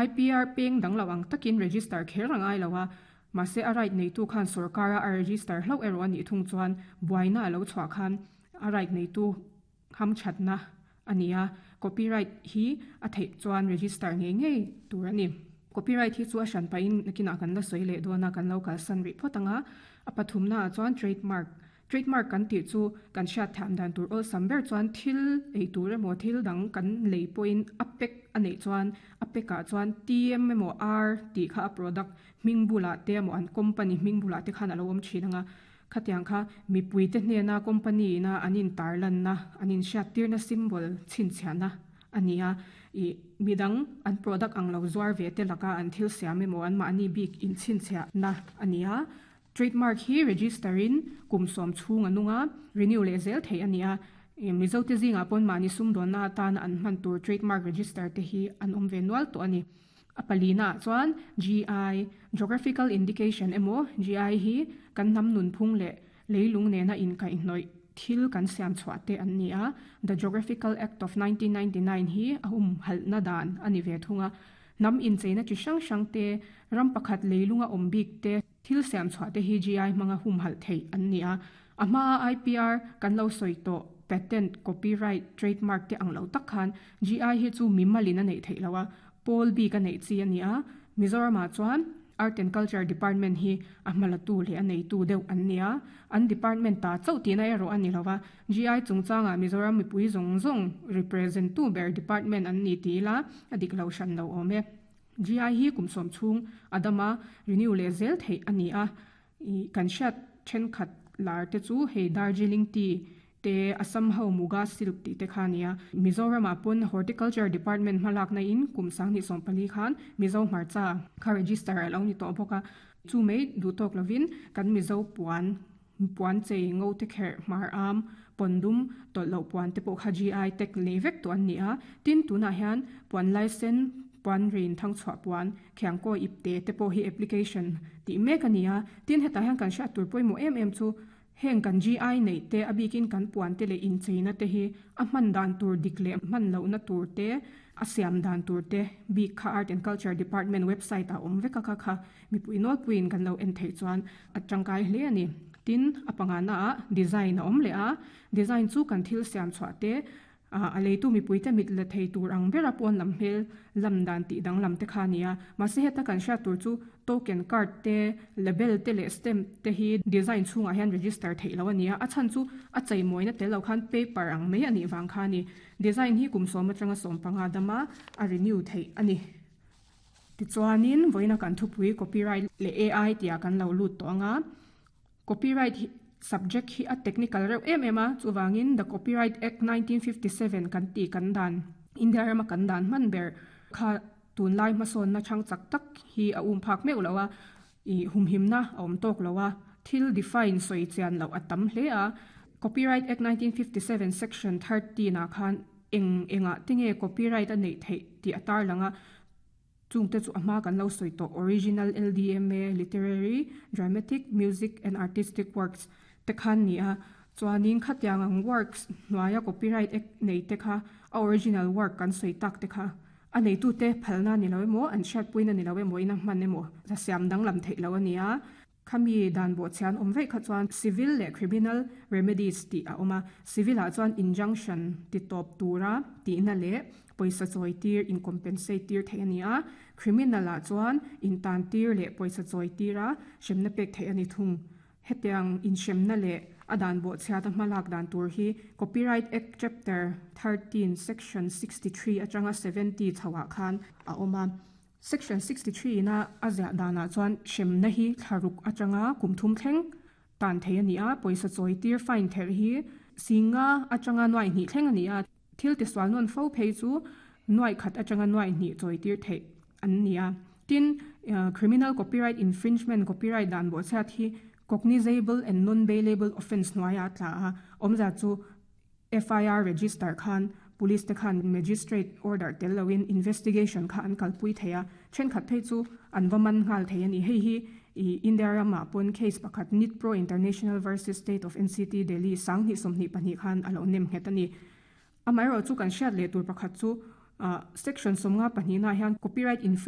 IPR peng dang lo ang takin register kher a ngai lo a, mahse a right neitu khan sorkara a register hlauh erawh a nih thung chuan buaina a lo chhuah khan a right neitu hamthatna a ni a, copyright hi a theih chuan register ngei ngei tur a ni. Copyright hi chu a hran pahin nakinah kan la sawi leh dawn a, kan lo kalsan rih phawt ang a. A pathumnaah chuan trademark. Trademark kan tih chu kan hriat thiam dan tur awlsam ber chuan thil ei tur emaw thil dang kan lei pawhin a pack a neih chuan a pack ah chuan TM emaw R tih kha a product hming bulah te emaw an company hming bulah te khan a lo awm thin ang a. Khatiang kha mipuite hnena company ina an intarlanna, an inhriattirna symbol chhinchhiahna a ni a. Ih, midang an product ang lo zuar ve te laka an thil siam emaw anmahni bik inchhinchhiahna a ni a. Trademark hi register in kum sawm chhung a nung a, renew leh zel theih a ni a. Mizote zingah pawn mahni sumdawnna atana an hman tur trademark register te hi an awm ve nual tawh a ni. A palina ah chuan GI, Geographical Indication, emaw GI hi kan hnam nunphung leh leilung nena inkaihhnawih thil kan siam chhuah te an ni a, The Geographical Act of 1999 hi a humhalhna dan a ni ve thung a. Hnam incheina chi hrang hrang te, ram pakhat leilunga awm bik te thil siam chhuah te hi GI hmanga humhalh theih an ni a. A hmaa IPR kan lo sawi tawh patent, copyright, trademark te ang lo tak khan GI hi chu mimalin a neih theih loh a, pawl bik a neih chi a ni a. Mizoramah chuan Art and Culture Department hi a hmalatu leh a neitu deuh an ni a, an department ta chauh tihna erawh a ni lo va, GI chungchangah Mizoram mipui zawng zawng represent tu ber department an ni ti ila a dik lo hran lo awm e. GI hi kum sawm chhung a dam a, renew leh zel theih a ni a. Ih, kan hriat thenkhat lar te chu hei Darjeeling tea te, Assam ho Muga silk tih te kha a nia. Mizoramah pawn Horticulture Department hmalakna in kum 2014 khan Mizo hmarcha kha register a lo ni tawh bawk a. Chu mai duh tawk lovin kan Mizo puan, puan chei, ngo te kherh, hmar am, pawn dum, tawlh loh puan te pawh kha GI tag nei vek tawh an ni a. Tin, tunah hian puan laisen, puan rin thangchhuah puan, Khiangkaw ipte te pawh hi application tih mek a ni a, tin hetah hian kan hriat tur pawimawh em em chu heng kan GI neih te a bikin kan puan te leh incheina te hi a hman dan tur dik leh hman lohna tur te a siam dan tur te bik kha Art and Culture Department website ah awm vek a kha kha mipui nawlpuiin kan lo en theih chuan a tangkai hle a ni. Tin a pangana ah design a awm leh a, design chu kan thil siam chhuah te A leitu mipuite mit la thei tur ang bera pawn lam hmel lam dan tih danglam te kha a ni a. Mahse heta kan hriat tur chu token card te, label te leh stamp te hi design chhungah hian register theih loh a ni a. A chhan chu a cheimawina tel lo khan paper ang mai a nih vang kha a ni. Design hi kum sawm atanga 15 dama a renew theih a ni. Tichuanin vawiina kan thupui copyright leh AI tihah kan lo lut tawh ang a. Copyright hi subject hi a technical reuh em em a, chuvangin The Copyright Act 1957 kan tih kan dan, India rama kan dan hman ber kha tunlai hmasawnna chhang chak tak hi a um phak meuh lo a, ih humhimna a awm tawk lo a, thil define sawi chian loh a tam hle a. Copyright Act 1957 Section 13 ah khan eng engah te nge copyright a neih theih tih a tarlang a, Chungte chu a hma kan lo sawi tawh original LDMA, literary, dramatic, music and artistic works, te khan ni a. Chuanin khatiang ang works hnuaia copyright act nei te kha a original work kan sawi tak te kha a neitute phalna ni lo emaw an hriatpuina ni lo emaw in a hman emaw a siam danglam theih lo a ni a. Khami dan bawhchhian awm veih kha chuan civil leh criminal remedies tih a awm a, civil ah chuan injunction ti tawp tura tihna leh pawisa chawi tir in compensate tir theih a ni a, criminal ah chuan intan tir leh pawisa chawi tira hremna pek theih a ni thung. Hetiang inhremna leh a dan bawhchhiata hmalak dan tur hi Copyright Act Chapter 13 Section 63 atanga 70 chho ah khan a awm a. Section 63 ina a ziah danah chuan hremna hi thlaruk atanga kum thum thleng tan thei a ni a, pawisa chawi tir fine therh hi singa atanga nuai hnih thleng a ni a, thil tisual nawn fo phei chu nuai khat atanga nuai hnih chawi tir theih an ni a. Tin, criminal copyright infringement, copyright dan bawhchhiat hi cognizable and non-bailable offence hnuaiah a tla a, awmzia chu FIR register khan Police te khan Magistrate order tel loin investigation kha an kalpui thei a, thenkhat phei chu an va man nghal thei a ni. Hei hi i India ramah pawn case pakhat Nitpro International versus State of NCT Delhi 2022 khan a lo nem nghet a ni. Amaherawhchu kan hriat leh tur pakhat chu Section 52 ah hian copyright infringement.